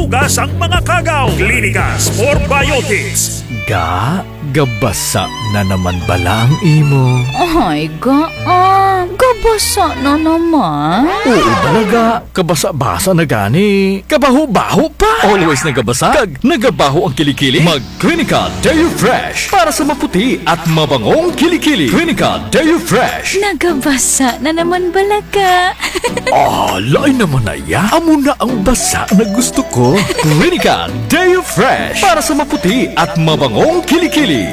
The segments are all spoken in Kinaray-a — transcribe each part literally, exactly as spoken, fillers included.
Dasang mga kagaw, Klinika Sport Biotics. Ga, gabasa na naman bala ang imo? Ay, ga, ah, gabasa na naman. Oo, bala ga, kabasa-basa na gani. Kabaho-baho pa. Always nagabasa, kag nagabaho ang kilikili. Mag Klinika Deo Fresh para sa maputi at mabangong kilikili. Klinika Deo Fresh. Nagabasa na naman bala ga. Ah, lain naman na ya. Amo na ang basa na gusto ko. Klinika Deo Fresh para sa maputi at mabangong kilikili.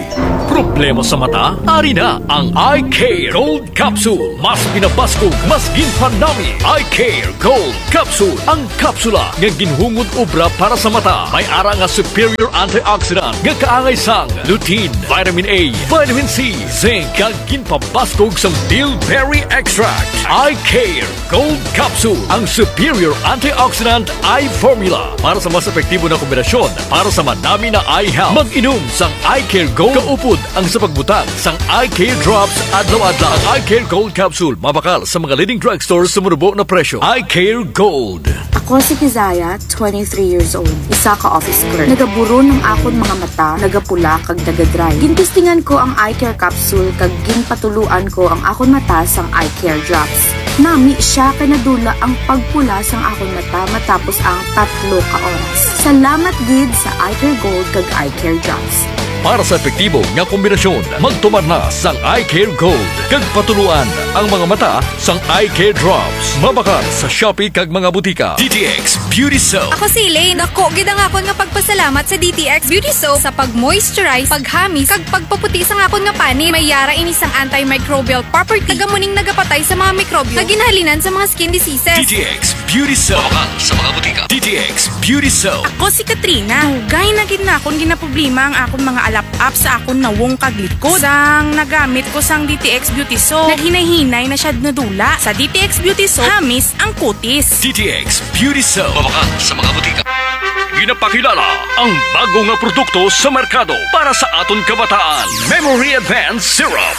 Problema sa mata? Ari na ang Eye Care Gold Capsule. Mas pinabaskog, mas ginpanami. Eye Care Gold Capsule. Ang kapsula nga ginhungod obra para sa mata. May ara nga superior antioxidant nga kaangay sang lutein, vitamin A, vitamin C, zinc, kag ginpabaskog sang bilberry extract. Eye Care Gold Capsule, ang superior antioxidant eye formula para sa mas epektibo na kombinasyon para sa manami na eye health. Mag-inom sang Eye Care Gold kaupod ang sa pagbutang sang Eye Care Drops adlaw-adlaw. Ang Eye Care Gold Capsule mabakal sa mga leading drugstore sa manubo na presyo. Eye Care Gold. Ako si Kizaya, twenty-three years old, isa ka office clerk. Nagaburon ang akon mga mata, nagapula kag nagadry. Gintestingan ko ang eye care capsule kag ginpatuluan ko ang akon mata sang eye care drops. Nami siya kay nadula ang pagpula sang akon mata matapos ang tatlo ka oras. Salamat gid sa Eye Care Gold kag Eye Care Drops. Para sa epektibo nga kombinasyon, magtumar na sang Eye Care Gold kag patuluan ang mga mata sang Eye Care Drops. Mabakal sa Shopee kag mga butika. D T X Beauty Soap. Ako si Elaine. Dako gid ang akon nga pagpasalamat sa D T X Beauty Soap sa pag-moisturize, paghamis, kag pagpaputi sang akon nga panit. May ara ini sang antimicrobial property. Taga muning nagapatay sa mga mikrobyo nga ginhalinan sa mga skin diseases. D T X Beauty Soap. Mabakal sa mga butika. D T X Beauty Soap. Ako si Katrina. Dugay na gid na akon ginaproblema ang akon mga alap-ap sa akon nawong kag likod. Sang nagamit ko sang D T X Beauty Soap, naghinay-hinay na siya nadula. Sa D T X Beauty Soap, hamis ang kutis. D T X Beauty Soap. Mabakal sa mga butika. Ginapakilala ang bago nga produkto sa merkado para sa aton kabataan, Memory Advance Syrup.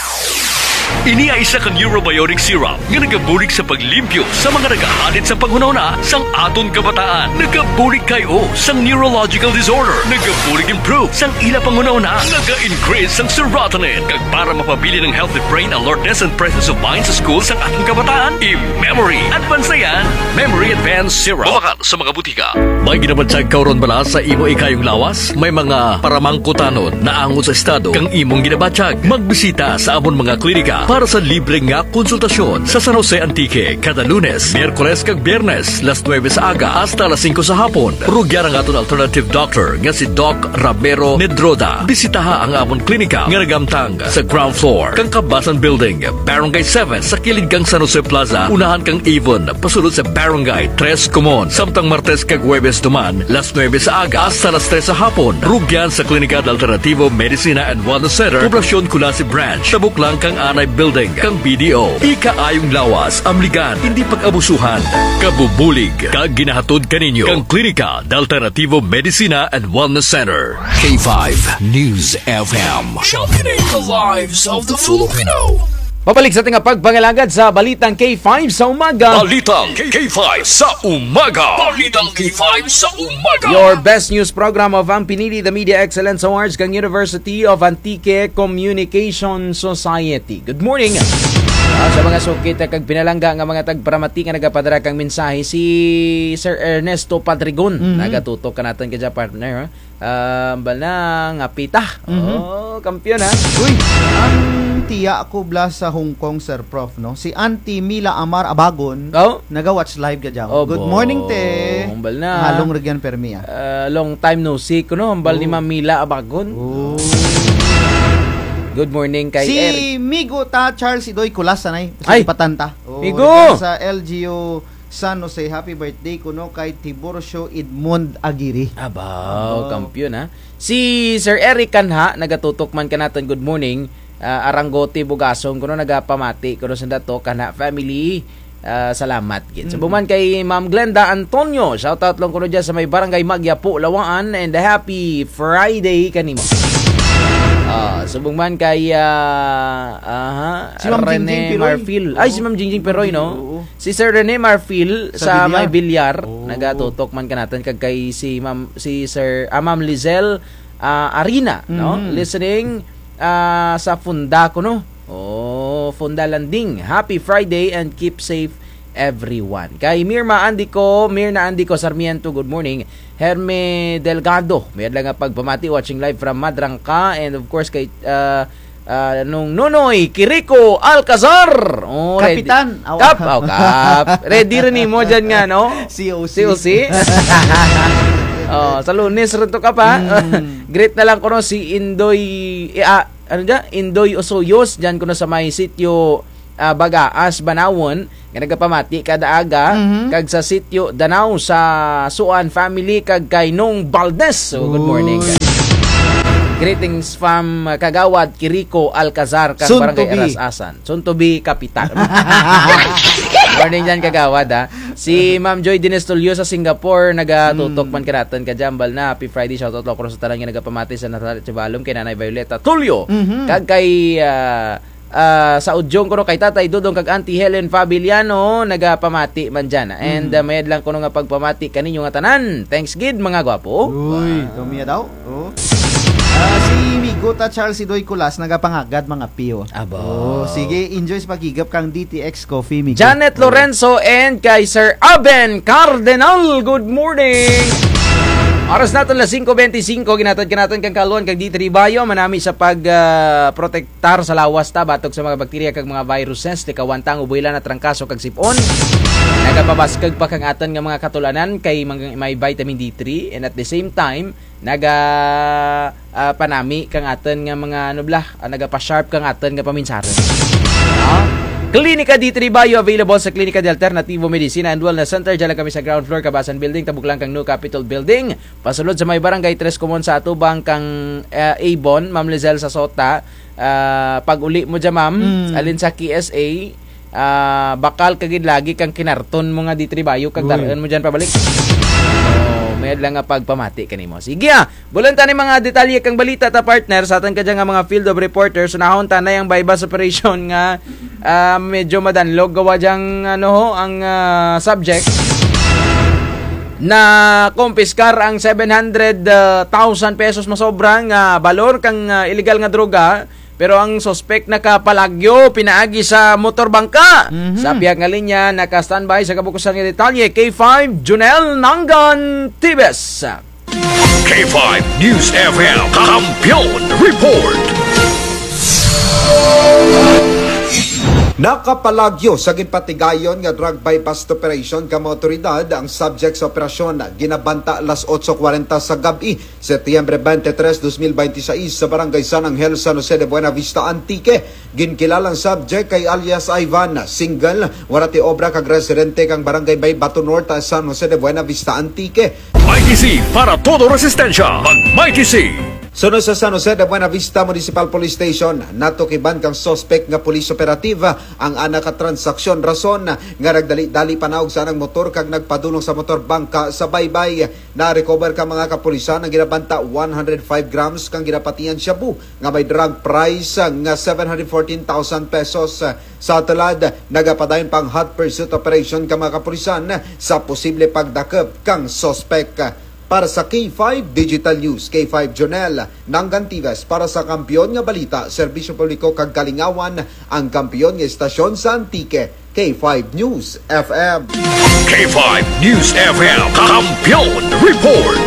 Ini ay isa ka neurobiotic syrup nga nagabulig sa paglimpyo sa mga nagahadit sa panghunahuna sang aton kabataan. Nagabulig kay-o sang neurological disorder. Nagabulig improve sang ila panghunahuna. Naga-increase sang serotonin. Kag para mapabilin ang healthy brain alertness and presence of mind sa school sang aton kabataan, i-Memory Advance na yan. Memory Advance Syrup. Mabakal sa mga butika. May ginabatyag ka run bala sa imo ikayong lawas? May mga paramangkutanon naangot sa estado kang imong ginabatyag. Magbisita sa amon mga klinika para sa libre nga konsultasyon sa San Jose, Antique, kada Lunes, Miyerkules kag Biyernes, las nuebe sa aga hasta las singko sa hapon. Rugyan ang aton alternative doctor nga si Doc Ramiro Nedroda. Bisitaha ang amon klinika nga naghamtang sa ground floor kang Kabasan Building, Barangay seven, sa kilid kang San Jose Plaza, unahan kang Avon, pasulod sa Barangay Tres Comuns. Samtang Martes kag Huwebes duman, las nuebe sa aga hasta las tres sa hapon. Rugyan sa Klinika de Alternativo Medicina and Wellness Center, Poblacion Culasi Branch, tabok lang kang Anay Building kang B D O. Ikaayong lawas, amligan, indi pag-abusuhan. Kabubulig kag ginahatod kaninyo kang Klinika de Alternativo Medicina and Wellness Center. K five News F M. Championing the lives of the Filipino. Pabalik sa aton nga pagpangalagad sa Balitang K five sa umaga. Balitang K five sa umaga. Balitang K five sa umaga. Your best news program of ang pinili the Media Excellence Awards kang University of Antique Communication Society. Good morning. Ah, sa mga suki ta kag pinalangga nga mga tagparamati nga nagapadara kang mensahe, si Sir Ernesto Padrigon. Mhm. Nagatutok kanaton kadya, partner, ha? Ah, hambal na nga pita. Mhm. Oh, kampiyon, ha? Uy, ang tiya ko bala sa Hong Kong, Sir Prof, no? Si Auntie Mila Amar Abagon, oh, naga-watch live kadya. Oh, good morning, te. Hambal na. Halong rugyan permi, ah. Ah, long time no see kuno, hambal ni Ma'am Mila Abagon. Oh. Good morning kay Eric. Si Migo ta, Charles Idoy Kulas, anay. Ay, Patanta. Oh, Migo! Sa L G U San Jose, happy birthday kuno kay Tiburcio Edmond Aguirre. Abaw, abaw, kampiyon, ha. Si Sir Eric Kanha, nagatutok man kanaton, good morning. Ah, Arangote Bugasong kuno, nagapamati kuno sa dato, Kanha family. Ah, salamat gid. Subong man kay Ma'am Glenda Antonio, shout out lang kuno dyan sa may Barangay Magyapo, Lawaan, and happy Friday kanimo. Ah, subong man kay, ah, aha, Si Ma'am Rene Jingjing Piroy. Marfil. Ay, si Oo. Ma'am Jingjing Piroy, no? Oo. Si Sir Rene Marfil Sa sa may Bilyar. Bilyar, Oo. nagatutok man kanatun kag kay si Ma'am, si Sir, ah, Ma'am Lizelle, ah, Arina, no? Mhm. Listening, ah, sa Funda kuno. Oh, Funda Landing. Happy Friday and keep safe everyone. Kay Mirma Andico, Mirna Andico Sarmiento, good morning. Herme Delgado, mayad lang nga pagpamati, watching live from Madrangka, and of course kay, ah, ah, Nung Nonoy Kiriko Alcazar. Oh, ready. Kapitan, awa. Kap, oh, Kap. Ready run nimo dyan nga, no? C O C. C O C. Oh, sa Lunes run to, Kap, ha? Mm. Greet na lang kuno si Indoy, eh, ah, ano dyan? Indoy Osoyos, dyan kuno sa may sitio, ah, Bagaas, Banawon, nga nagapamati kada aga, Mhm. kag sa sitio Danao sa Suan family, kag kay Nong Valdez. So, good morning. Uy. Greetings from, ah, Kagawad Kiriko Alcazar, kag Soon to Barangay be. Aras-asan. Soon to be kapitan. Morning dyan, Kagawad, ha. Si Ma'am Joy Dines Tulio sa Singapore, nagatutok Mm. man kanatun kadya, ambal na. Happy Friday, shoutout lang kuno sa tanan nga nagapamati sa Nazaret Sibalom, kay Nanay Violeta Tulio. Mhm. Kag kay, ah, ah, sa Udyong kuno kay Tatay Dodong kag Auntie Helen Fabiliano, nagapamati man dyan. And, Mhm. ah, mayad lang kuno nga pagpamati kaninyo nga tanan. Thanks gid, mga gwapo. Uy, Wow. dumiya daw. Oh. Ah, si Miguta Charles Idoy Kulas nagapangagad mga piyo. Aba. Oh, sige, enjoy sa paghigop kang D T X Coffee, Migo. Janet Oh. Lorenzo and kay Sir Aben Cardenal, good morning. Oras natun alas singko bente singko, ginhatod kanatun kang kaalwan kag D three Bio, manami sa pag, ah, protektar sa lawas ta batok sa mga bakterya kag mga viruses, likawan ta ang uboy, lanat, trangkaso kag sip-on. Nagapabaskug pa kang atun nga mga katul-anan kay mga, may vitamin D three, and at the same time, naga, ah, panami kang atun nga mga, ano bala, ah, nagapa-sharp kang atun nga paminsarun. Ah? Klinika D three Bio available sa Klinika de Alternativo Medicina and Wellness Center. Dyan lang kami sa ground floor, Kabasan Building, tabok lang kang New Capitol Building. Pasulod sa may Barangay Tres Comuon sa atubang kang, ah, Avon, Ma'am Lizelle sa Sota. Ah, pag-uli mo dyan, ma'am, Mm. alin sa K S A, ah, bakal ka gid lagi kang kinarton mo nga D three Bio kag Uy. dar-un mo dyan pabalik. Oh, mayad lang nga pagpamati kanimo. Sige, ah, bulan ta ni mga detalye kang balita ta, partner, sa atun kadya nga mga field of reporters. Unahon ta na ang buy-bust operation nga, ah, medyo madanlog gawa dyang, ano ho, ang, ah, subject. Nakumpiskar ang seven hundred thousand pesos masobra nga balor kang, ah, iligal nga droga. Pero ang suspek nakapalagyo pinaagi sa motor bangka. Mhm. Sa pihak nga linya, naka-standby sa kabukusan nga detalye, K five Junel Nangan Tibes. K five News F M Kampiyon Report. Nakapalagyo sa ginpatigayon nga drug buy-bust operation kang mga awtoridad ang subject sa operasyon ginabanta alas otso kwarenta sa gab-i. Setyembre twenty-three, dos mil bente sais, sa Barangay San Angel, San Jose de Buenavista, Antique. Ginkilala ang subject kay alias Ivan, single, wara ti obra kag residente kang Barangay Baybato Norte, San Jose de Buenavista, Antique. Mikey C para todo resistensya. Mag Mikey C. Sunod sa San Jose de Buenavista Municipal Police Station, natukiban kang suspek nga police operative ang ana ka transaksyon, rason nga nagdali-dali panaog sa anang motor kag nagpadulong sa motor bangka sa baybay. Na-recover kang mga kapulisan ang ginabanta one hundred five grams kang ginapatihan shabu nga may drug price nga seven hundred fourteen thousand pesos. Sa tulad, nagapadayon pa ang hot pursuit operation kang mga kapulisan sa posible pagdakop kang suspek. Para sa K five Digital News, K five Jonel Nangantives, para sa Kampiyon nga Balita, Serbisyo Publiko kag Kalingawan, ang kampiyon nga estasyon sa Antique, K five News F M. K five News F M, Kampiyon Report.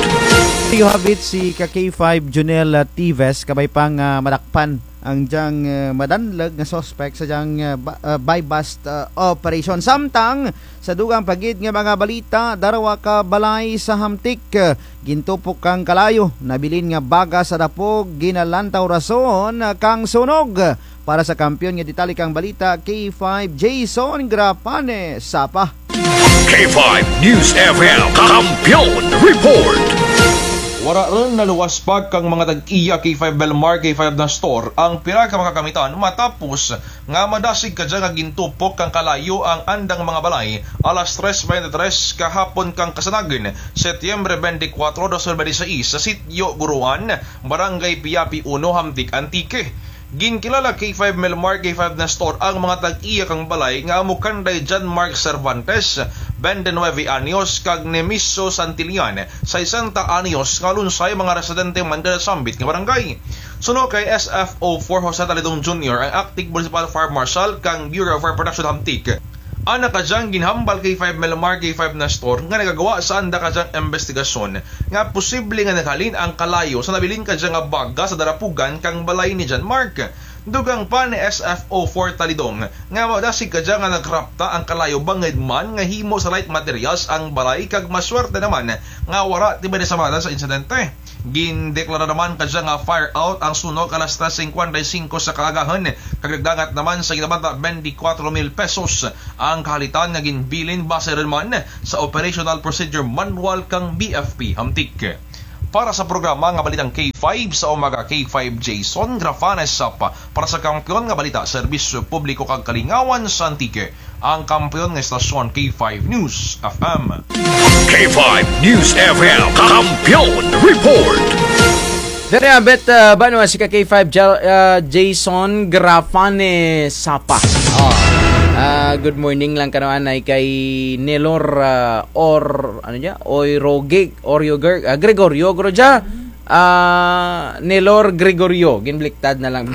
You have it, si ka K five Jonel, ah, Tives, kabay pang, ah, madakpan ang dyang, ah, madanlog nga suspek sa dyang, ah, ba-, ah, buy-bust, ah, operation. Samtang, sa dugang pa gid nga mga balita, darwa ka balay sa Hamtic, ah, gintupok kang kalayo, nabilin nga baga sa dapog, ginalantaw rason, ah, kang sunog. Para sa Kampiyon nga Detalye kang Balita, K five Jason Grapane, Sapa. K five News F M, Kampiyon Report. Wara run naluwas pa kang mga tag-iya K five Melmar, K five Nestor ang pira ka mga kagamitan matapos nga madasig kadya nga gintupok kang kalayo ang andang mga balay alas tres bente tres kahapon kang kasanagan, Setyembre bente kwatro, dos mil bente sais, sa Sitio Guruan, Barangay Piapi uno, Hamtic, Antique. Ginkilala K five Melmar, K five Nestor ang mga tag-iya kang balay nga amo kanday John Mark Cervantes, bente nuebe anyos, kag Nemiso Santillan, sesenta anyos, nga lunsay mga residente man dya sa sambit nga barangay. Suno kay S F O four Jose Talidong Junior, ang Acting Municipal Fire Marshal kang Bureau of Fire Protection Hamtic, ana kadyang ginhambal K five Melmar, K five Nestor nga nagagwa sa anda kadyang imbestigasyon nga posible nga naghalin ang kalayo sa nabilin kadya nga baga sa darapugan kang balay ni John Mark. Dugang pa ni S F O four Talidong nga madasig kadya nga nagrapta ang kalayo bangud man nga himo sa light materials ang balay kag maswerte naman nga wara ti may nasamatan sa insidente. Gindeklara naman kadya nga fire out ang sunog alas tres singkwenta y singko sa kaagahun, kag nagdangat naman sa ginabanta bente kwatro mil pesos ang kahalitan nga ginbilin base run man sa Operational Procedure Manual kang B F P Hamtic. Para sa programa nga Balitang K five sa Umaga, K five Jason Grafanes Sapa, para sa Kampiyon nga Balita, Serbisyo Publiko kag Kalingawan sa Antique, ang kampiyon nga estasyon, K five News F M. K five News F M, Kampiyon Report. Diri abet, ah, banwa si ka K five Jal-, ah, Jason Grafane Sapa. Oh. Ah, good morning lang kano anay kay Nelor, ah, or, ano dya? Oy Rogic, Oreo Gre-, ah, Gregorio, guro dya. Ah, Nelor Gregorio, ginbliktad na lang.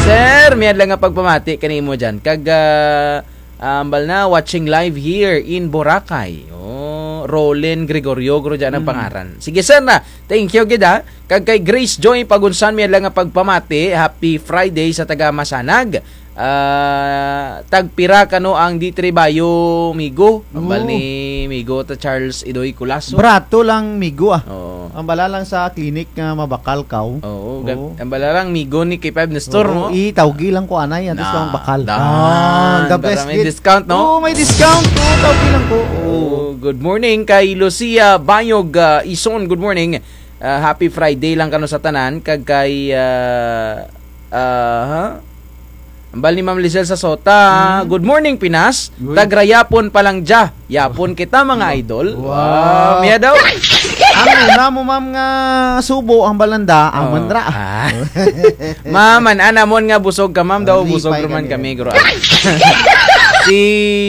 Sir, mayad lang nga pagpamati kanimo dyan. Kag, ah, ah, ambal na, watching live here in Boracay. Oh, Rolen Gregorio, guro dyan ang pangaran. Sige, sir na. Thank you, gid, ha. Kag kay Grace Joy Pagunsan, mayad lang nga pagpamati. Happy Friday sa taga Masanag. Ah, tagpira kano ang D three Bio, migo? Ambal ni migo ta Charles Idoy Culaso. Barato lang migo, ah. Oo. Ambala lang sa clinic nga mabakal kaw. Oo, gab-, ambala lang migo ni K five Nestor, no? I, tawgi lang ko anay, antes lang bakal. Ah, the best, may discount, no? Oo, may discount. Oo, tawgi lang ko. Oo, good morning kay Lucia Bayog, ah, Ison, good morning. Ah, happy Friday lang kano sa tanan, kag kay, ah, ah, ha? Ambal ni Ma'am Lizelle sa Sota. Good morning, Pinas. Uy. Taga Yapon pa lang dya. Yapon kita, mga idol. Wow. Wow. Miya daw. Ang una mo, ma'am, nga subo, ang balanda, ang manra. Ah. Ma'am, an-an namon nga busog ka, ma'am, daw busog man kami, guro. Si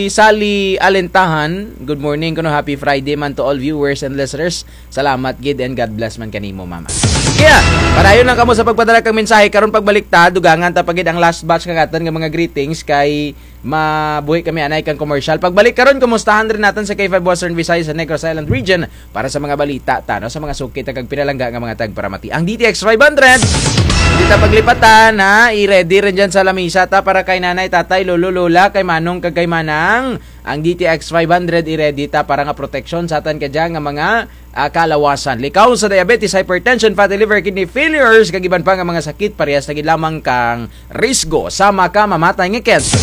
Sally Alentahan, good morning, kuno happy Friday man to all viewers and listeners. Salamat gid and God bless man kanimo, mama. Kaya, padayon lang kamo sa pagpadala kang mensahe. Karon pagbalik ta, dugangan ta pa gid ang last batch kang atun nga mga greetings kay mabuhi kami anay kang commercial. Pagbalik karon, kumustahan run natun sa K five Western Visayas sa Negros Island Region para sa mga balita ta, no, sa mga suki ta kag pinalangga nga mga tagparamati. Ang D T X five hundred, di ta paglipatan, ha? I-ready run dyan sa lamisa ta para kay nanay, tatay, lolo, lola, kay manong, kag kay manang. Ang D T X five hundred i-ready ta para nga proteksyon sa atun kadya nga mga, ah, kalawasan. Likaw sa diabetes, hypertension, fatty liver, kidney failures, kag iban pa nga mga sakit, parehas na gid lamang kang risgo sa makamamatay nga cancer.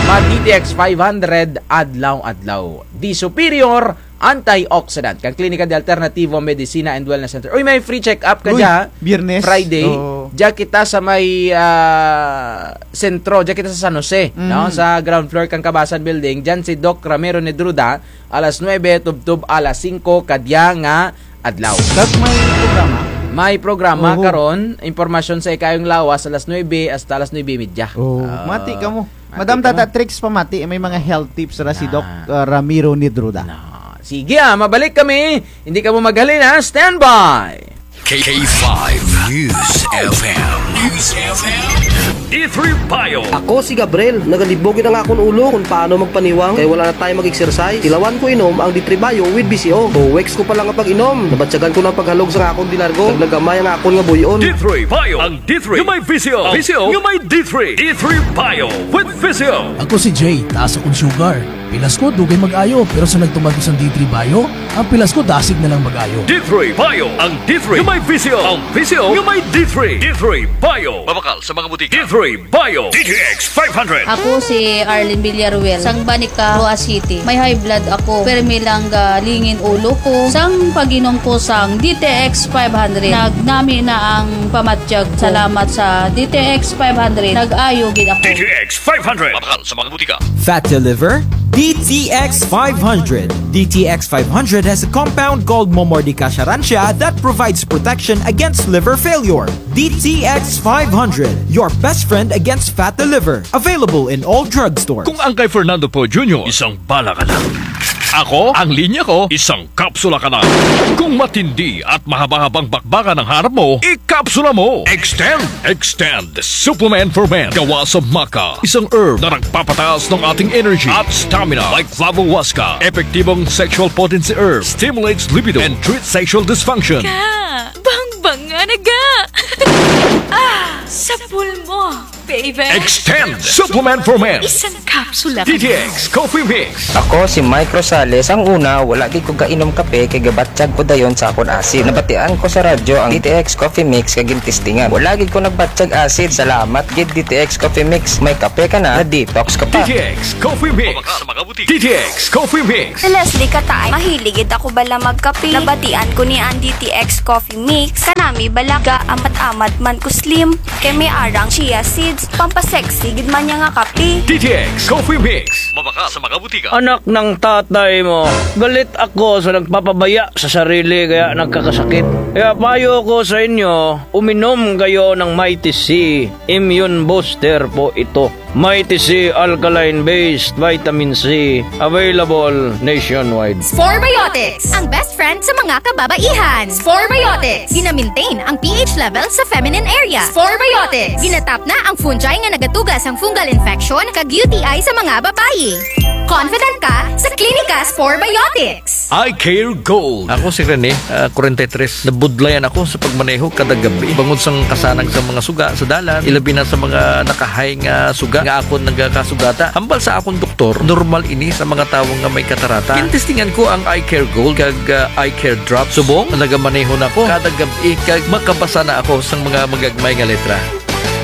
Mag D T X five hundred adlaw-adlaw. Di Superior, antioxidant. Kang Klinika de Alternativo Medicina and Wellness Center. Uy, may free check-up kadya, Biyernes. Friday. Oo. Dya kita sa may, ah, sentro, dya kita sa San Jose, no? Sa ground floor kang Kabasan Building, dyan si Doc Ramiro Nedruda, alas nuebe, tubtub alas singko, kadya nga adlaw. Kag may programa? May programa karon, impormasyon sa ikayong lawas, alas nuebe hasta alas nuebe y media. Oo. Ah, mati kamo. Madam Tata Trix, pamati, may mga health tips ra si Doc, ah, Ramiro Nedruda. Na. Sige, ah, mabalik kami. Hindi kamo maghalin, ha? Standby! K five News F M. News F M. D three Bio. Ako si Gabriel. Nagalibog gid ang akon ulo kon paano magpaniwang kay wala na time mag-exercise. Tilawan ko inom ang D three Bio with V C O. Two weeks ko pa lang nga pag-inom, nabatyagan ko na ang paghalog sa akon dinargo. Naglagamay ang akon nga buy-on. D three Bio. Ang D three nga may V C O. V C O nga may D three. D three Bio with V C O. Ako si Jay, taas akong sugar. Pilas ko, dugay mag-ayo, pero sa nagtuman ko sang D three Bio, ang pilas ko, dasig na lang mag-ayo. D three Bio, ang D three nga may visyo, ang visyo nga may D three. D three Bio. Mabakal sa mga butika. D three Bio. D T X five hundred. Ako si Arlene Villaruel, sang Banica, Roxas City. May high blood ako, permi lang galingin ulo ko. Sang pag-inom ko sang D T X five hundred, nagnami na ang pamatyag ko. Salamat sa D T X five hundred, nag-ayo gid ako. D T X five hundred. Mabakal sa mga butika. Fatty liver? D T X five hundred. D T X five hundred has a compound called Momordica charantia that provides protection against liver failure. D T X five hundred, your best friend against fatty liver. Available in all drugstores. Kung ang kay Fernando Poe Junior, isang bala ka na. Ako, ang linya ko, isang kapsula ka na. Kung matindi at mahaba-habang bakbakan ang hanap mo, ikapsula mo. Extend, Extend Supplement for Men. Gawa sa maca, isang herb na nagpapataas ng ating energy at stamina. Like flavohuasca, epektibong sexual potency herb, stimulates libido and treats sexual dysfunction. Ka, bangbanga na ga. Ah, sapul mo, baby. Extend Supplement for Men. Isang kapsula ka na. D T X Coffee Mix. Ako si Mike Rosales. Ang una, wala gid ko gainom kape kay gabatyag ko dayon sa akon asid. Nabatian ko sa radyo ang D T X Coffee Mix kag gintistingan. Wala gid ko nagbatyag asid. Salamat gid D T X Coffee Mix. May kape ka na, na-detox ka pa. D T X Coffee Mix. D T X Coffee Mix. Si Leslie Katay, mahilig gid ako bala magkape. Nabatian ko ni ang D T X Coffee Mix. Kanami bala, gaamat-amat man ko slim. Kay may arang chia seeds, pampasexy gid man niya nga kape. D T X Coffee Mix. Mabakal sa mga butika. Anak ng tatay mo, galit ako sa nagpapabaya sa sarili kaya nagkakasakit. Kaya payo ko sa inyo, uminom kayo ng Mighty C. Immune booster po ito. Mighty C alkaline-based vitamin C, available nationwide. Sporebiotics, ang best friend sa mga kababaihan. Sporebiotics, gina-maintain ang pH level sa feminine area. Sporebiotics, ginatap na ang fungi nga nagatuga sang fungal infection kag U T I sa mga babayi. Confident ka sa Clinica Sporebiotics. Eye Care Gold. Ako si Rene, ah, kwarenta y tres. Nabudlayan ako sa pagmaneho kada gabi. Bangod sang kasanag sa mga suga sa dalan, ilabi na sa mga nakahay nga suga nga akon nagakasugata. Hambal sa akon doktor, normal ini sa mga tawo nga may katarata. Gintestingan ko ang Eye Care Gold kag, ah, Eye Care Drops. Subong, nagamaneho na ako kada gab-i kag makabasa na ako sang mga magagmay nga letra.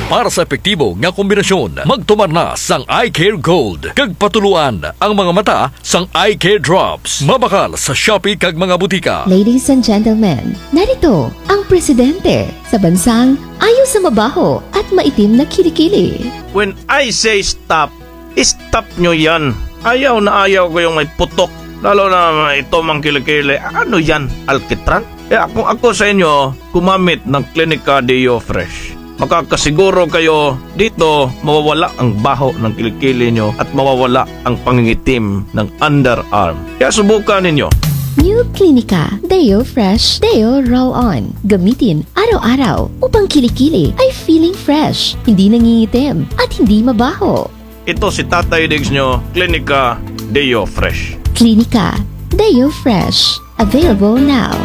Para sa epektibo nga kombinasyon, magtumar na sang Eye Care Gold kag patuloan ang mga mata sang Eye Care Drops. Mabakal sa Shopee kag mga butika. Ladies and gentlemen, narito ang presidente sa bansang ayaw sa mabaho at maitim na kilikili. When I say stop, stop nyo yan. Ayaw na ayaw ko yung may putok. Lalo na ito mang kilikili. Ano yan? Alkitran? Kaya kung ako sa inyo, gumamit ng Clinica Deo Fresh. Makakasiguro kayo dito mawawala ang baho ng kilikili nyo at mawawala ang pangingitim ng underarm. Kaya subukan ninyo. New Clinica Deo Fresh Deo Roll On. Gamitin araw-araw upang kilikili ay feeling fresh, hindi nangingitim, at hindi mabaho. Ito si Tatay Diggs nyo, Clinica Deo Fresh. Clinica Deo Fresh. Available now.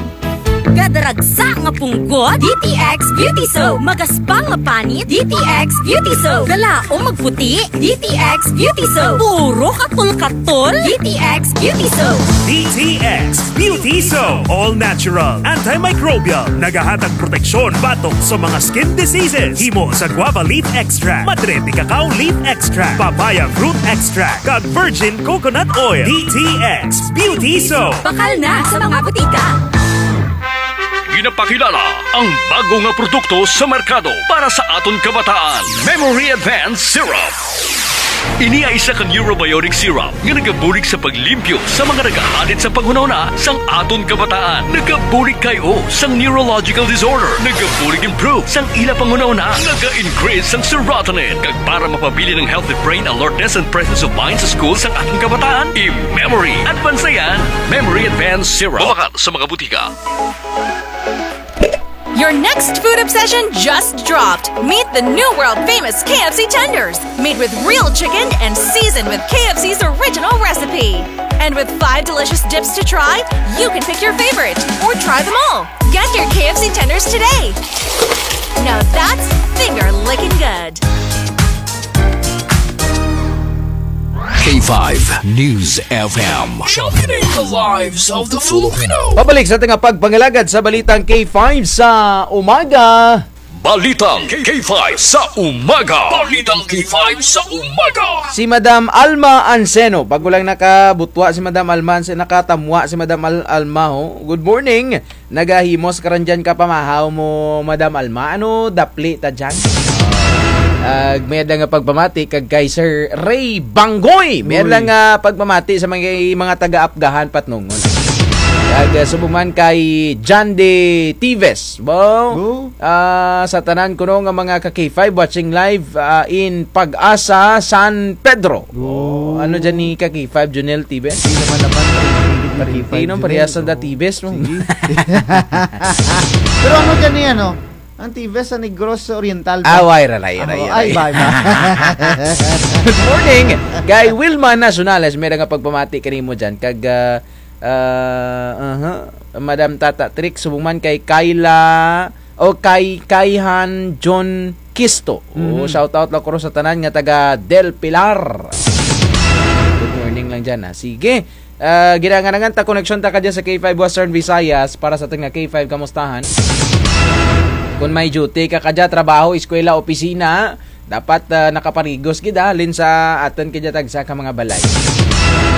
Kadaragsa nga punggot, D T X Beauty Soap. Magaspang nga panit, D T X Beauty Soap. Galaom magputi, D T X Beauty Soap. Puro katol-katol, D T X Beauty Soap. D T X Beauty Soap. All natural, antimicrobial. Nagahatag proteksyon batok sa mga skin diseases. Himo sa guava leaf extract, madre de cacao leaf extract, papaya fruit extract, kag virgin coconut oil. D T X Beauty Soap. Bakal na sa mga butika. Ginapakilala ang bago nga produkto sa merkado para sa aton kabataan, Memory Advance Syrup. Ini ay isa ka neurobiotic syrup nga nagabulig sa paglimpyo sa mga nagahalit sa panghunahuna sang aton kabataan. Nagabulig kay-o sang neurological disorder. Nagabulig improve sang ila panghunahuna. Naga-increase sang serotonin. Kag para mapabilin ang healthy brain alertness and presence of mind sa school sang aton kabataan, i-Memory Advance yan. Memory Advance Syrup. Mabakal sa mga butika. Your next food obsession just dropped. Meet the new world famous K F C tenders, made with real chicken and seasoned with K F C's original recipe. And with five delicious dips to try, you can pick your favorite or try them all. Get your K F C tenders today. Now that's finger licking good. K five News F M. Championing the lives of the Filipino. Pabalik sa atun nga pagpangalagad sa balitang K five sa umaga. Balitang K five sa umaga. Balitang K five sa umaga. Si Madam Alma Anseno, bag-o lang nakabutwa si Madam Alma Anseno, nakatamwa si Madam Al-, Alma, ho. Good morning. Nagahimo sa karan dyan ka pamahaw mo, Madam Alma. Ano, dapli ta dyan? Ah, may-ada nga pagpamati kag kay Sir Ray Banggoy. May-ada nga pagpamati sa mga, mga taga-Apgahan, Patnongon. Kag, ah, subong man kay John De Tives. Bo? Bo? Ah, sa tanan kuno nga mga ka K five watching live, ah, in Pag-asa, San Pedro. Bo? Ano dyan ni ka K five, Junel Tives? Di naman naman, K five, Junel. Parehas ang Tives mo. Sige. Pero ano dyan ni ano? Ang Tives sa Negros Oriental pa. Ah, wala, wala, wala, wala. Ay, ba, ba. Good morning. Kay Wilma Nacionales, may-ada nga pagpamati kanimo dyan. Kag, ah, ah, aha. Madam Tata Trick, subong man kay Kayla, o kay Kayhan John Kisto. Oo, shout out lang ko sa tanan nga taga Del Pilar. Good morning lang dyan, ha. Sige. Ah, ginangarangan ta, koneksyon ta kadya sa K five Western Visayas para sa atun nga K five kamustahan. Kon may duty ka kadya, trabaho, eskwela, opisina, dapat, ah, nakaparigos gid, ah, halin sa atun kadya tagsa ka mga balay.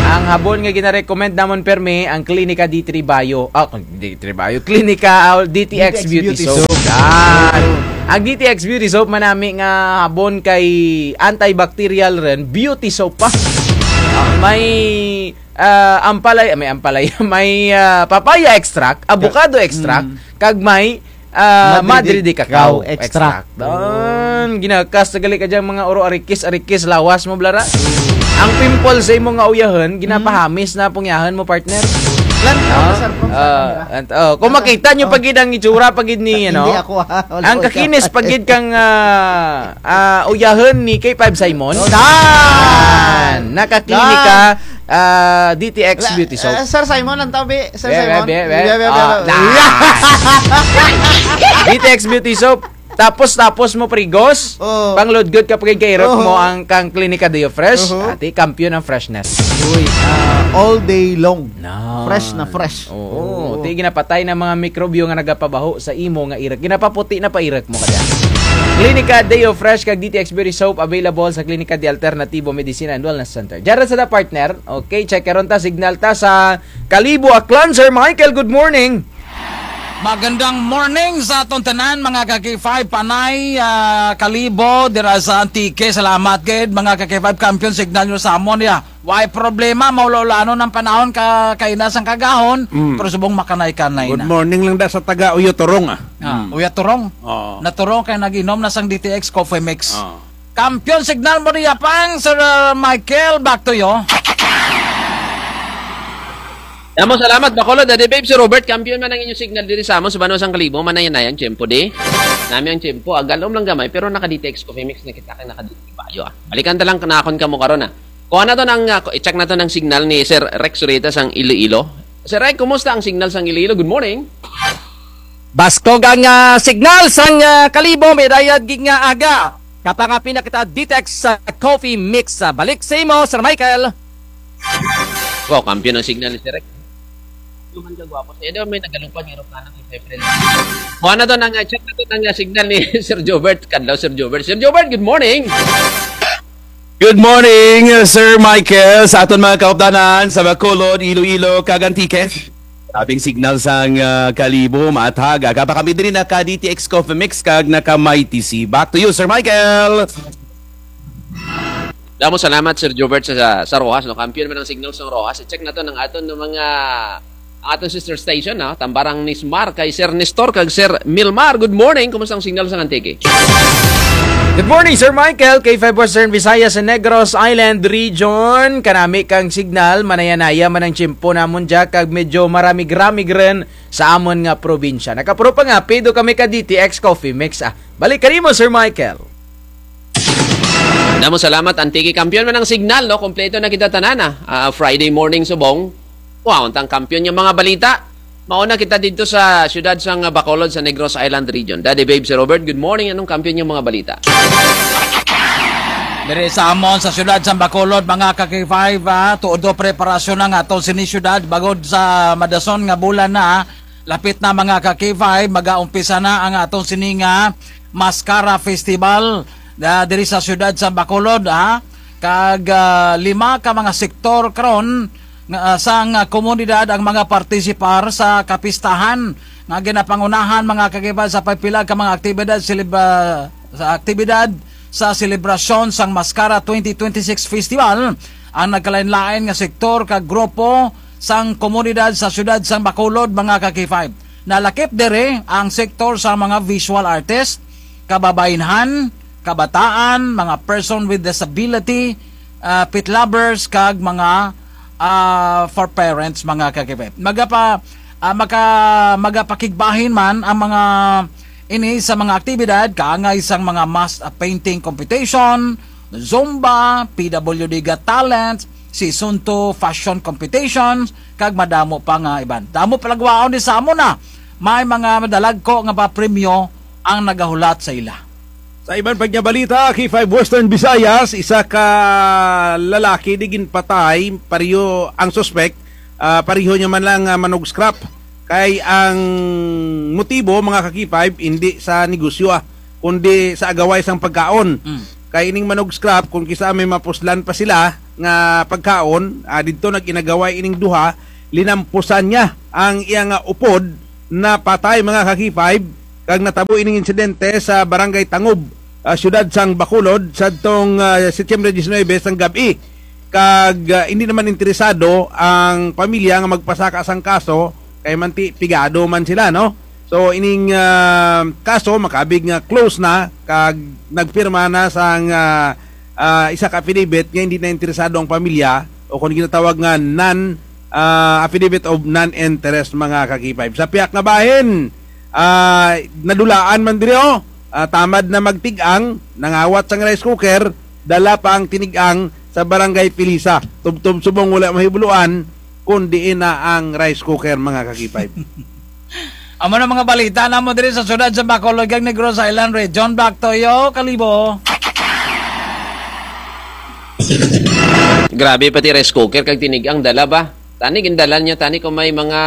Ang habon nga gina-recommend namon permi, ang Klinika D three Bio. Ah, D three Bio. Klinika, ah, D T X Beauty Soap. Yan. Ang D T X Beauty Soap, manami nga habon kay antibacterial run, beauty soap pa. Ah, may ah, ampalaya, may ampalaya, may, ah, papaya extract, avocado extract, kag may, ah, madre de cacao extract. Don, ginakas na gali ka dyang mga uro arikis, arikis, lawas mo, blara. Ang pimple sa imo nga uyahun, ginapahamis na pungyahun mo, partner. Lantaw na, sir, kung sa camera. Ah, oh, kung makita nyo pa gid ang itsura pa gid ni, ano? Hindi ako, ah. Wala ko. Ang kakinis pa gid kang, ah, ah, uyahun ni K five Simon. Oh, dan! Nakaklinika, ah, D T X Beauty Soap. Ah, Sir Simon, ang tabi. Sir Simon. Be, be, be. Ah, dan! D T X Beauty Soap. Tapos, tapos mo prigos. Oh. Pangludgod ka pa gid kay irok mo ang kang Klinika Deo Fresh. Ati, kampiyon ang freshness. Uy, ah, all day long. Fresh na fresh. Oo. Ti ginapatay na mga mikrobyo nga nagapabaho sa imo nga irek. Ginapaputi na pa irek mo kadya. Klinika Deo Fresh kag D T X Beauty Soap available sa Klinika de Alternativo Medicina and Wellness Center. Dyan ra sa da, partner. Okay, check karon ta, signal ta sa Kalibo, Aklan. Sir Michael, good morning. Magandang morning sa atong tanan, mga ka K five, Panay, ah, Kalibo, dira sa Antique. Salamat gid, mga ka K five, kampiyon signal nyo sa amon, ya. Way problema, maula-ulanon ang panahon ka, kaina sang kagahon, pero subong makanay-kanay na. Good morning lang da sa taga Uyaturong, ah. Ah, Uyaturong. Oo. Naturong kay nag-inom na sang D T X Coffee Mix. Oo. Kampiyon signal mo diya pang, Sir, uh, Michael, back to you. Damo salamat, Bacolod, Daddy Babe, Sir Robert, kampiyon man ang inyong signal diri sa amon, sa banwa sang Kalibo, manaya-naya ang tiyempo di. Nami ang tiyempo, agalom lang gamay, pero naka-D T X Coffee Mix na kita, kay naka-D T X Bayo, ah. Balikan ta lang kanakon kamo karon, ah. Kuha naton ang, ah, i-check naton ang signal ni Sir Rex Zurita sang Iloilo. Sir Rex, kumusta ang signal sang Iloilo? Good morning. Baskog ang, ah, signal sang, ah, Kalibo, may dayad gid nga aga. Kapangapi na kita D T X, ah, Coffee Mix. Ah, balik sa imo, Sir Michael. Wow, kampiyon ang signal ni Sir Rex. Duman ka gwapo. Sa iya daw may nagalupad nga eroplano ni Fefren. Kuha naton ang, ah, check naton ang, ah, signal ni Sir Jobert. Kadlaw, Sir Jobert. Sir Jobert, good morning. Good morning, uh, Sir Michael, sa aton mga kaupdanan sa Bacolod, Iloilo, kag Antique. Grabeng signal sang, uh, Kalibo, maathag. Aga pa kami diri naka D T X Coffee Mix kag naka My T C. Back to you, Sir Michael. Damo salamat, Sir Jobert, sa, sa, sa Roxas, no? Kampiyon man ang signal sa Roxas. I-check naton ang aton nga mga Ang aton sister station, ha? Tambalang Nismar, kay Sir Nestor, kag Sir Milmar. Good morning. Kumusta ang signal sa Antique? Good morning, Sir Michael. K five Western Visayas sa Negros Island Region. Kanami kang signal, manaya-naya man ang tiyempo namon dya, kag medyo maramig-ramig run sa amon nga probinsya. Nakapangapi daw kami ka D T X Coffee Mix, ah. Balik kanimo, Sir Michael. Damo salamat, Antique. Kampiyon man ang signal, no? Kompleto na kita tanan, ah. Ah, Friday morning subong. Wow, untang kampiyon nga mga balita. Mauna kita didto sa siyudad sang Bacolod sa Negros Island Region. Daddy Babe, Sir Robert, good morning. Anong kampiyon nga mga balita? Diri sa amon sa siyudad sa Bacolod, mga ka-K five, ah, todo preparasyon na nga aton sini siyudad bangod sa madason nga bulan na, lapit na, mga ka-K five, magaumpisa na ang aton sini nga Mascara Festival, ah, diri sa siyudad sa Bacolod, ha. Kag, ah, lima ka mga sektor karon nga, ah, sang, ah, komunidad ang mga partisipar sa kapistahan nga ginapangunahan, mga ka-K five, sa pagpila ka mga aktibidad selebra-, sa aktibidad sa selebrasyon sang Mascara twenty twenty-six Festival ang nagkalain-lain nga sektor kag grupo sang komunidad sa siyudad sang Bacolod, mga ka-K five. Nalakip diri ang sektor sa mga visual artist, kababainhan, kabataan, mga person with disability, ah, pet lovers, kag mga, ah, for parents, mga ka-K five. Magapa-, ah, maka-, magapakigbahin man ang mga ini sa mga aktibidad, kaangay sang mga mass, ah, painting competition, Zumba, P W D Got Talent, Season two fashion competitions, kag madamo pa nga iban. Damo palagwaon ni sa amon na. May mga madalagko nga papremyo ang nagahulat sa ila. Sa iban pa nga balita, K five Western Visayas, isa ka lalaki di ginpatay, pareho ang suspek, ah, pareho niya man lang, ah, manog scrap. Kay ang motibo, mga ka-K five, hindi sa negosyo, ah, kundi sa agaway sang pagkaon. Mm. Kay ining manog scrap, kung kis-a may mapuslan pa sila nga pagkaon, ah, didto nag-inagaway ining duha, linampusan niya ang iya nga upod, napatay, mga ka-K five, kag natabo ining insidente sa Barangay Tangob, ah, siyudad sang Bacolod, sadtong, ah, Setyembre diecinuebe sang gab-i. Kag, ah, hindi naman interesado ang pamilya nga magpasaka sang kaso, kay manti pigado man sila, no? So, ining, ah, kaso, makaabig nga close na, kag nagpirma na sang, ah, ah, isa ka affidavit nga hindi na interesado ang pamilya, o kung ginatawag nga non, ah, affidavit of non-interest, mga ka-K five. Sa piyak nga bahin, ah, nadulaan man diri, oh. Ah, tamad na magtig-ang, nangawat sang rice cooker, dala pa ang tinig-ang sa Barangay Pilisa. Tubtob subong wala mahibuluan kung diin na ang rice cooker, mga ka-K five. Amo na mga balita namo diri sa siyudad sa Bacolod kag Negros Island Region. Back to you, Kalibo. Grabe, pati rice cooker kag tinig-ang dala ba? Tani, gindala niya, tani, kung may mga,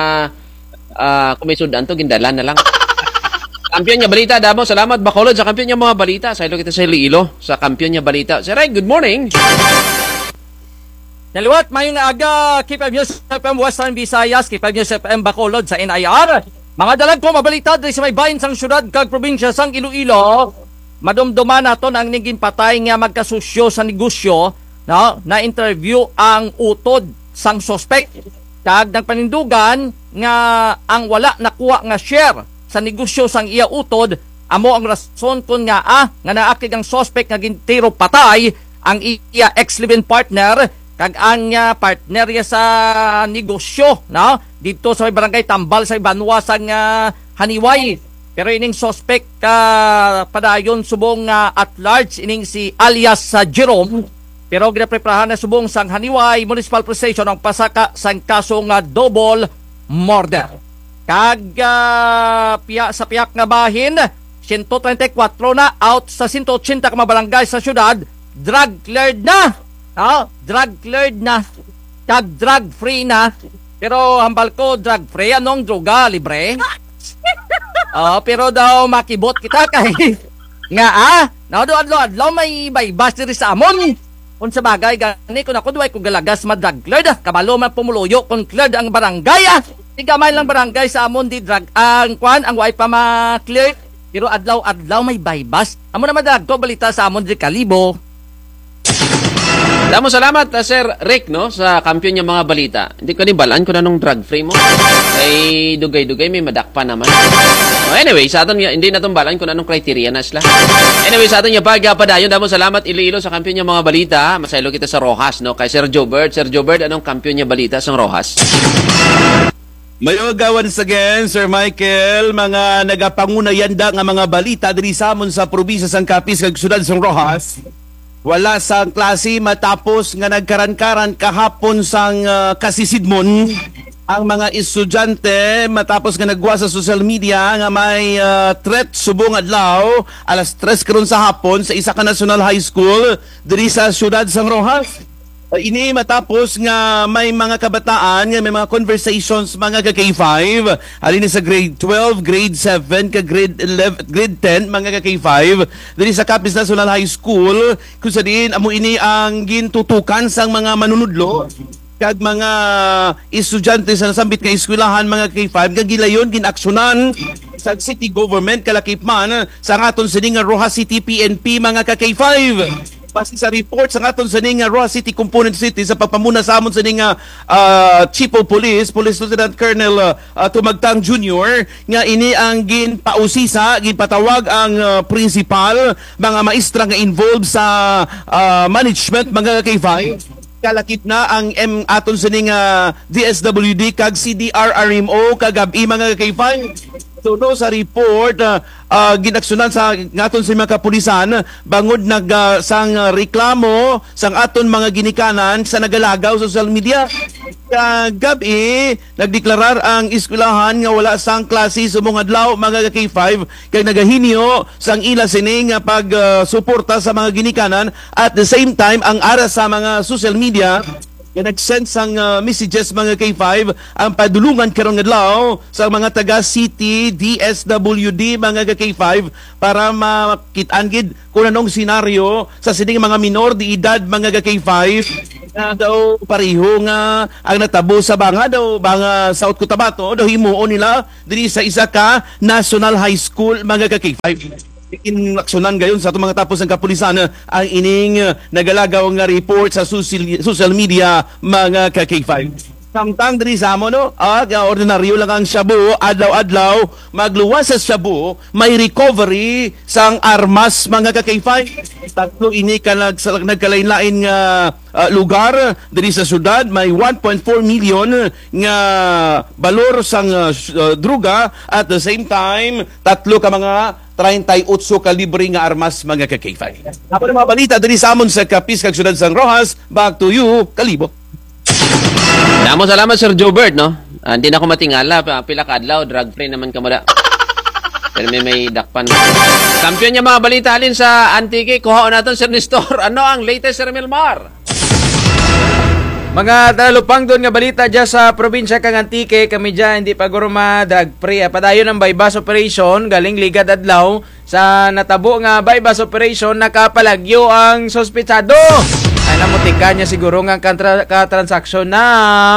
ah, kung may sud-an to, gindala na lang. Kampiyon nga balita, damo salamat, Bacolod, sa kampiyon nga mga balita. Saylo kita sa Iloilo, sa kampiyon nga balita. Sir Ray, good morning. Naliwat, maayong aga, K five News F M Western Visayas, K five News F M Bacolod sa N I R. Mga dalagko, mabalita diri sa may bahin sang siyudad kag probinsya sang Iloilo. Madumduman naton ang ning ginpatay nga magkasusyo sa negosyo, no? Na-interview ang utod sang suspek. Kag nagpanindugan nga ang wala nakuha nga share sa negosyo sang iya utod, amo ang rason kon ngaa nga naakig ang suspek nga gintiro patay ang iya ex live-in partner kag ang, ah, partner niya sa negosyo, no? Didto sa may barangay Tambal sa banwa sang, ah, Janiuay. Pero ining suspek, ah, padayon subong, ah, at large, ining si alias, ah, Jerome. Pero ginapreparahan na subong sang Janiuay Municipal Police Station ang pasaka sang kaso nga double murder. Kag, ah, piya-, sa piyak nga bahin, siyento treinta y kuwatro na out sa siyento otsenta ka mga barangay sa siyudad, drug cleared na. Ah, drug cleared na. Kag drug free na. Pero hambal ko, drug free, anong droga, libre? Oh, pero daw makibot kita kay nga, ah, no, do adlaw-adlaw may baybas diri sa amon. Kung sa bagay gani, kung ako, duway ko galagas ma-drug cleared, ah. Kabalo man pumuluyo kung cleared ang barangay, ah. Di gamay lang barangay sa amon di drug, ang kwan, ang way pa ma-clear. Pero adlaw-adlaw may baybas. Amo na man dalagko balita sa amon di Kalibo. Damo salamat, ah, Sir Rick, no, sa kampiyon nga mga balita. Hindi ko ni balaan kung anong drug free mo. Ay, dugay-dugay, may madakpan naman. Oh, anyway, sa aton nga, hindi naton balaan kung anong criteria na sila. Anyway, sa aton nga pagpadayon, damo salamat, Iloilo, sa kampiyon nga mga balita. Masaylo kita sa Roxas, no, kay Sir Jobert. Sir Jobert, anong kampiyon nga balita sa Roxas? Maayong aga once again, Sir Michael, mga nagapanguna yanda nga mga balita diri sa amon sa probinsya sang Capiz kag siyudad sang Roxas. Wala sang klase matapos nga nagkaran-karan kahapon sang, ah, kasisidmon. Ang mga estudyante, matapos nga naggwa sa social media nga may, ah, threat subong adlaw, alas tres karon sa hapon, sa isa ka National High School diri sa siyudad sang Roxas. Ah, ini matapos nga may mga kabataan nga may mga conversations, mga ka K five, halin sa grade twelve, grade seven, ka grade eleven, grade ten, mga ka K five, diri sa Capiz National High School, kung sa diin amo ini ang gintutukan sang mga manunudlo kag mga estudyante sa nasambit nga eskwelahan, mga ka K five, nga gilayon, ginaksyonan sa city government, kalakip man sang aton sini nga Roxas City P N P, mga ka K five. Base sa report sang aton sini nga Roxas City Component City sa pagpamuna sa amon sini nga, ah, Chief of Police, Police Lieutenant Colonel, ah, ah, Tumagtang Junior, nga ini ang ginpausisa, ginpatawag ang, ah, principal, mga maestra nga involved sa, ah, management, mga ka K five. Kalakip na ang M, aton sini nga D S W D kag C D R R M O kagab-i, mga ka K five. Suno sa report, ah, ah, ginaksyonan sa aton sini mga kapulisan bangod nag, ah, sang, ah, reklamo sang aton mga ginikanan sa nagalagaw sa social media. Kagab-i, nagdeklarar ang eskwelahan nga wala sang klase subong adlaw, mga ka K five, kag nagahinyo sang ila sini nga pag, ah, suporta sa mga ginikanan. At the same time, ang ara sa mga social media nga nag-send sang, ah, messages, mga ka K five, ang padulungan karong adlaw sa mga taga city, D S W D, mga ka K five, para makit-an gid kung anong senaryo sa sining mga minor de edad, mga ka K five, nga daw pareho nga ang natabo sa Banga daw, Banga, South Cotabato, daw himuon nila diri sa isa ka national high school, mga ka K five. Inaksyonan gayon sa atong mga tapos nga kapulisan, eh, ang ining, eh, nagalagaw nga report sa social, social media, mga ka K five. Samtang diri sa amo, no? Ah, nga ordinaryo lang ang shabu, adlaw-adlaw, magluwas sa shabu, may recovery sang armas, mga ka K five. Tatlo ini ka nag-, nagkalain-lain nga, ah, lugar diri sa syudad, may one point four million nga balor sang, ah, s-, ah, droga. At the same time, tatlo ka mga treinta y ocho kalibre nga armas, mga ka K five. Amo na mga balita diri sa amon sa Capiz kag syudad sang Roxas. Back to you, Kalibo. Damo salamat, Sir Jobert, no? Ah, hindi na ako matingala, pa-, pila ka adlaw, drug free naman kamo da. Pero may, may dakpan. Kampiyon nga mga balita halin sa Antique, kuhaon naton, Sir Nestor. Ano ang latest, Sir Milmar? Mga talupangdon nga balita dya sa probinsya kang Antique, kami dya hindi pa guro ma-drug free. Ah, padayon ang buy-bust operation, galing ligad adlaw. Sa natabo nga buy-bust operation, nakapalagyo ang suspetsado. Ay, namutika niya siguro nga kantra-, katransaksyon na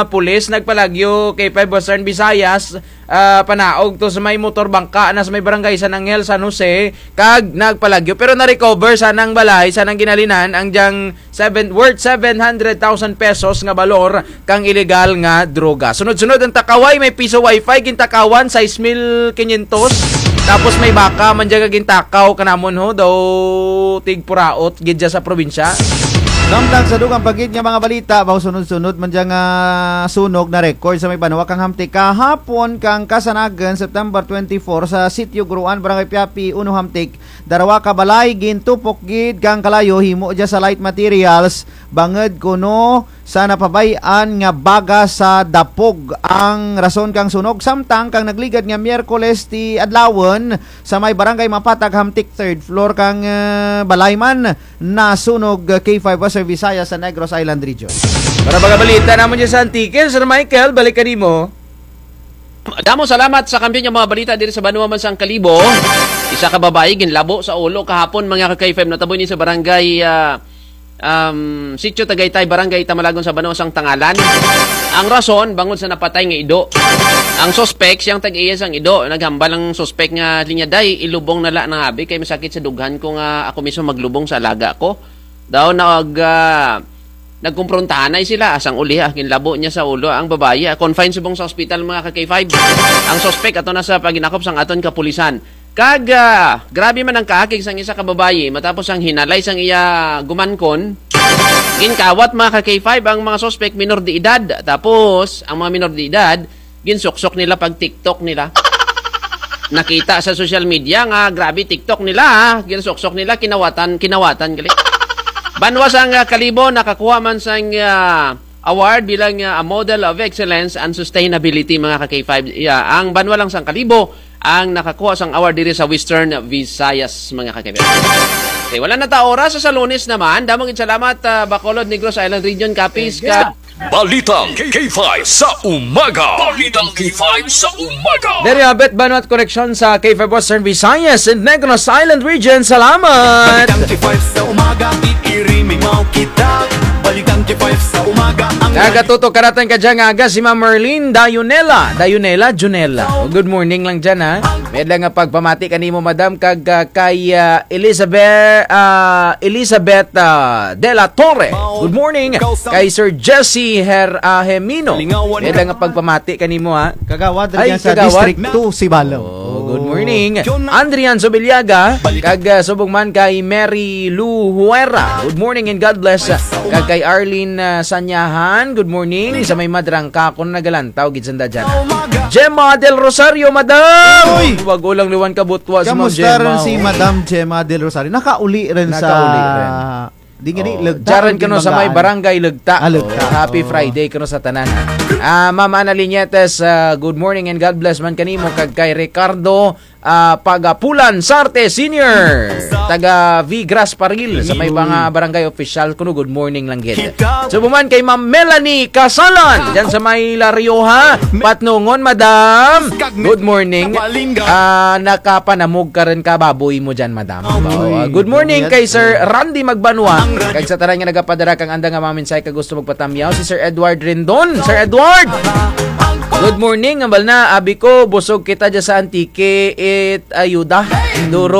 pulis nagpalagyo kay five Western Visayas, ah, panaog to sa may motor bangka na sa may barangay San Angel, San Jose, kag nagpalagyo. Pero na-recover sa nang balay, sa nang ginhalinan, ang dyang seven, worth seven hundred thousand pesos nga balor kang iligal nga droga. Sunod-sunod ang takaway, may piso wifi, gintakawan, sais mil kinyentos. Tapos may baka man dya nga gintakaw kanamon ho, daw tigpuraot gid dya sa probinsya. Samtang sa dugang pa gid nga mga balita, baw sunod-sunod man dya nga sunog na record sa may banwa kang Hamtic kahapon kang Kasanagan, September twenty-four, sa Sitio Guruan, Barangay Piapi, Uno, Hamtic. Darwa ka balay gintupok gid kang kalayo himo dya sa light materials, bangud kuno sa napabay-an nga baga sa dapog ang rason kang sunog, samtang kang nagligad nga Miyerkules ti adlawon sa may barangay Mapatag, Hamtic, third floor kang, eh, balay man nasunog, eh, K five Western Visayas sa Negros Island Region. Para mga balita namon dyan sa Antique, Sir Michael, balik kanimo. Damo salamat sa kampiyon nga mga balita diri sa banwa man sang Kalibo. Isa ka babayi ginlabo sa ulo kahapon, mga ka K five, natabo ini sa barangay, ah, um, Sitio Tagaytay, Barangay Tamalagon sa banwa sang Tangalan. Ang rason, bangod sa napatay nga ido. Ang suspek, siyang tag-iya sang ido. Naghambal ang suspek nga linya, "Day, ilubong na la nang abi kay masakit sa dughan ko nga ako mismo maglubong sa alaga ko." Daw nag, ah, nagkumprontahanay sila, asang uli, ah, ginlabo niya sa ulo ang babayi, ah, confined subong sa ospital, mga ka K five. Ang suspek ato na sa paginakop sang aton kapulisan. Kag, ah, grabe man ang kaakig sang isa ka babayi, matapos ang hinalay sang iya gumangkon, ginkawat, mga ka K five, ang mga suspek minor de edad. Tapos, ang mga minor de edad, ginsuksok nila pag-TikTok nila. Nakita sa social media nga grabe TikTok nila, ha. Ginsuksok nila, kinawatan, kinawatan gali. Banwa sang, ah, Kalibo, nakakuha man sang, ah, Award bilang, ah, a Model of Excellence and Sustainability, mga ka-K five. Yeah, ang banwa lang sang Kalibo ang nakakuha sang award diri sa Western Visayas, mga ka-K five. Okay, wala na ta oras sa Lunes naman. Damo gid salamat, ah, Bacolod, Negros Island Region, Capiz, ka Balitang K five sa umaga. Balitang K five sa umaga. There you have it, Banwa at Koneksyon sa K five Western Visayas and Negros Island Region. Salamat! Balitang K five sa umaga, iirimimaw kita. Balitang K five sa umaga, ang Nagatutok karatang kadya nga aga si Ma'am Merlin Dayunela. Dayunela, Junela. Oh, good morning lang dyan, ha. May-ada nga pagpamati kanimo, madam, kag, ah, kay, ah, Elizabeth, ah, Elizabeth, ah, De La Torre. Good morning. Kay Sir Jesse Her-, ah, Hemino. May-ada nga pagpamati kanimo, ha. Kagawad, Ay, dyan sa kagawad. District two, Sibalom. Oh, good morning. Andrian Sobiliaga, kag, ah, subong man kay Mary Lou Huera. Good morning and God bless. Kag kay Arlene, ah, Sanyahan, good morning. Sa may Madrangka, kuno nagalantaw gid sanda dyan. Gemma Del Rosario, madam! Uy! Bag-o lang liwan kabutwa si Ma'am Gemma. Kamusta rin si Madam Gemma Del Rosario? Nakauli rin sa Nakauli rin. Di nga di, Oh, Legta, dyan rin kuno sa may Banggaan. Barangay Legta. Ah, Legta. Oh, happy Oh. Friday kuno sa tanan. Ah, Ma'am Ana Liñetes, ah, good morning and God bless man kanimo kag kay Ricardo, ah, Pagapulan Sarte Senior, taga Vigras Paril, sa may mga barangay official kuno, good morning lang gid. Subong man kay Ma'am Melanie Casalan, dyan sa may La Rioja, Patnongon, madam. Good morning. Ah, nakapanamog ka rin ka baboy mo dyan, madam. Baboy. Oh, ah, good morning kay Sir Randy Magbanwa. Kag sa tanan nga nagapadara kang anda nga mga mensahe kag gusto magpatamyaw, si Sir Edward Rendon. Sir Edward! Good morning, hambal na, abi ko, busog kita dyan sa Antique, it ayuda. Duro